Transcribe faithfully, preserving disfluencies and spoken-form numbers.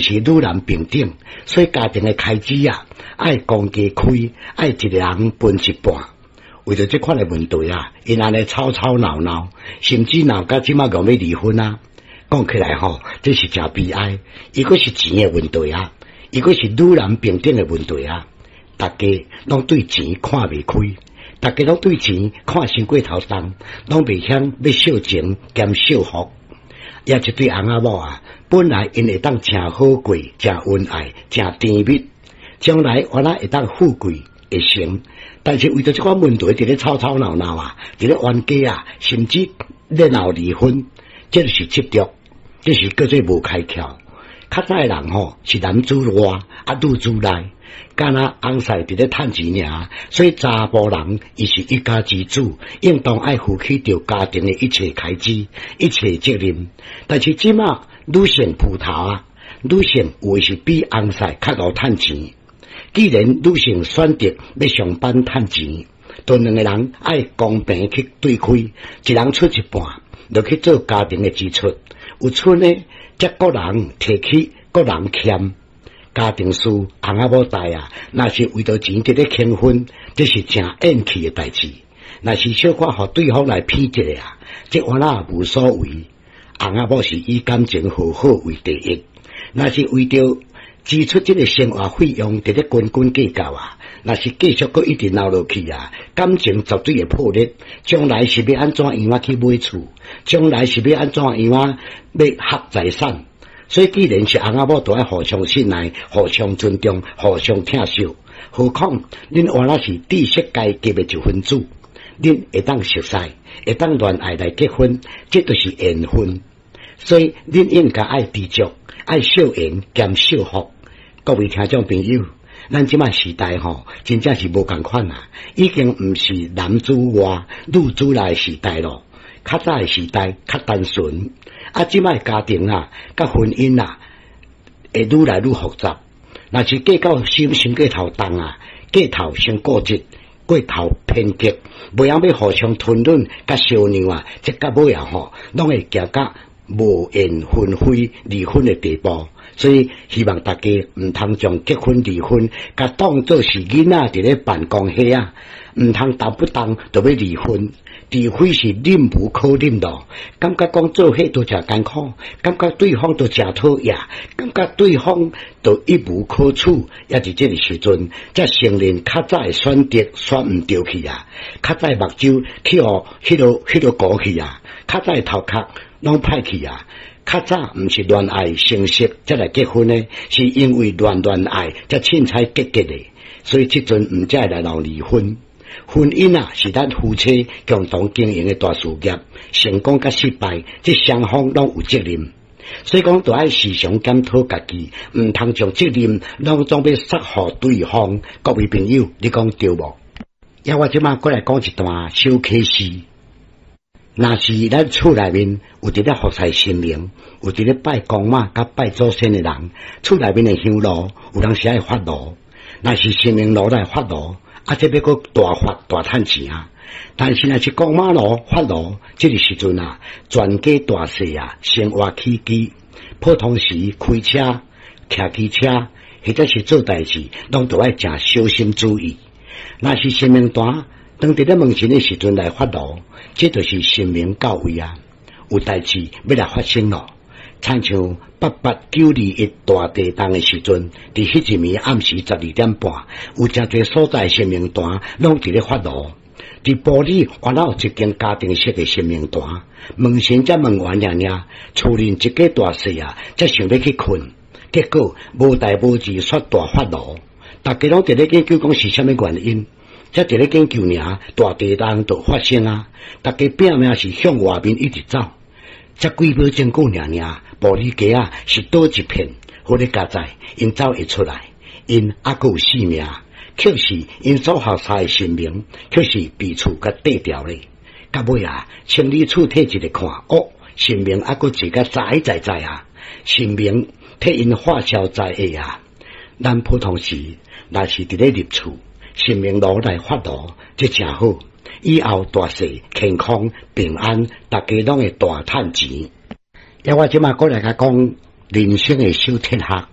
是女男平等，所以家庭的開支啊，愛公家開，愛一個人分一半。為著這款的問題啊，𪜶按呢吵吵鬧鬧，甚至鬧甲這馬欲欲離婚啊。講起來吼，這是誠悲哀。伊閣是錢的問題啊，伊閣是女男平等的問題啊。大家攏對錢看袂開，大家攏對錢看傷過頭重，攏袂曉欲惜錢兼惜福。也一對翁仔某啊，本來𪜶會當誠好過，誠恩愛，誠甜蜜，將來原來會當富貴會成。但是為著這款問題，佇咧吵吵鬧鬧啊，佇咧冤家啊，甚至咧鬧離婚，這就是執著，這是叫做無開竅。較早的人吼是男主外啊女主內，敢若翁婿佇咧趁錢爾，所以查埔人伊是一家之主，應當愛負起著家庭的一切開支、一切責任。但是這馬女性浮頭啊，女性有的是比翁婿較𠢕趁錢。既然女性選擇欲上班趁錢，就兩個人愛公平去對開，一人出一半，落去做家庭的支出。有出呢，則各人提起，各人欠。家庭事翁仔某代啊，若是為著錢佇咧傾婚，這是誠厭氣的代誌。若是小可予對方來騙一下啊，這原來無所謂。翁仔某是以感情和好為第一，若是為著支出這個生活費用，佇咧斤斤計較啊！若是繼續閣一直鬧落去啊，感情絕對會破裂。將來是欲按怎樣仔去買厝？將來是欲按怎樣仔欲合財產？所以既然是翁仔某，就愛互相信賴、互相尊重、互相疼惜。何況恁原來是知識階級的一分子，恁會當熟似，會當戀愛來結婚，這就是緣分。所以恁應該愛知足，愛惜緣兼惜福。各位聽眾朋友，咱這馬時代吼，真正是無仝款啊！已經毋是男主外、女主內的時代咯。較早的時代較單純，啊，這馬家庭啊，佮婚姻啊，會愈來愈複雜。若是計較心傷過頭重啊，過頭傷固執，過頭偏激，袂曉欲互相吞忍佮相讓啊，這到尾啊吼，攏會行到無緣分非離婚的地步。所以希望大家毋通將結婚離婚，共當做是囡仔佇咧辦公室啊，毋通動不動就欲離婚，除非是忍無可忍咯。感覺講做伙都誠艱苦，感覺對方都誠討厭，感覺對方都一無可取，也佇這个時陣，才承認較早的選擇選毋著去啊，較早目睭去予彼囉彼囉糊去啊，較早頭殼攏歹去啊。較早毋是戀愛成熟才來結婚的，是因為亂戀愛才凊彩結結的，所以這陣毋才會來鬧離婚。婚姻啊，是咱夫妻共同經營的大事業，成功佮失敗，這雙方攏有責任。所以講，著愛時常檢討家己，毋通將責任攏總欲捒予對方。各位朋友，你講對無？抑我這馬閣來講一段小啟示。若是咱厝內面有佇咧服侍神明，有佇咧拜公媽佮拜祖先的人，厝內面的香爐有當時愛發爐。若是神明爐來發爐，啊，這欲閣大發大趁錢啊！但是若是公媽爐發爐，這個時陣啊，全家大細啊，生活起居，普通時開車、騎機車，或者是做代誌，攏著愛誠小心注意。若是神明壇，當佇咧問神的時陣來發爐，這就是神明到位啊！有代誌欲來發生咯。親像八八九二一大地動的時陣，佇彼一暝暗時十二點半，有誠濟所在神明壇攏佇咧發爐。佇埔里原來有一間家庭式的神明壇，問神才問完爾爾，厝內一家大細啊，才想欲去睏，結果無代無誌煞大發爐，大家攏佇咧研究講是啥物原因。才佇咧研究爾，大地動就發生啊！大家拼命是向外面一直走，才幾秒鐘過爾爾，埔里街仔是倒一片，好咧佳哉，𪜶走會出來，𪜶猶閣有性命，卻是𪜶所服侍的神明，卻是被厝共綴掉咧。到尾啊，清理處退一个看，哦，神明猶閣坐甲在在在啊！神明替𪜶化消災厄啊！咱普通時若是佇咧入厝，神明爐來發爐，這誠好。以後大細健康平安，大家攏會大趁錢。抑我這馬閣來共講人生的小哲學。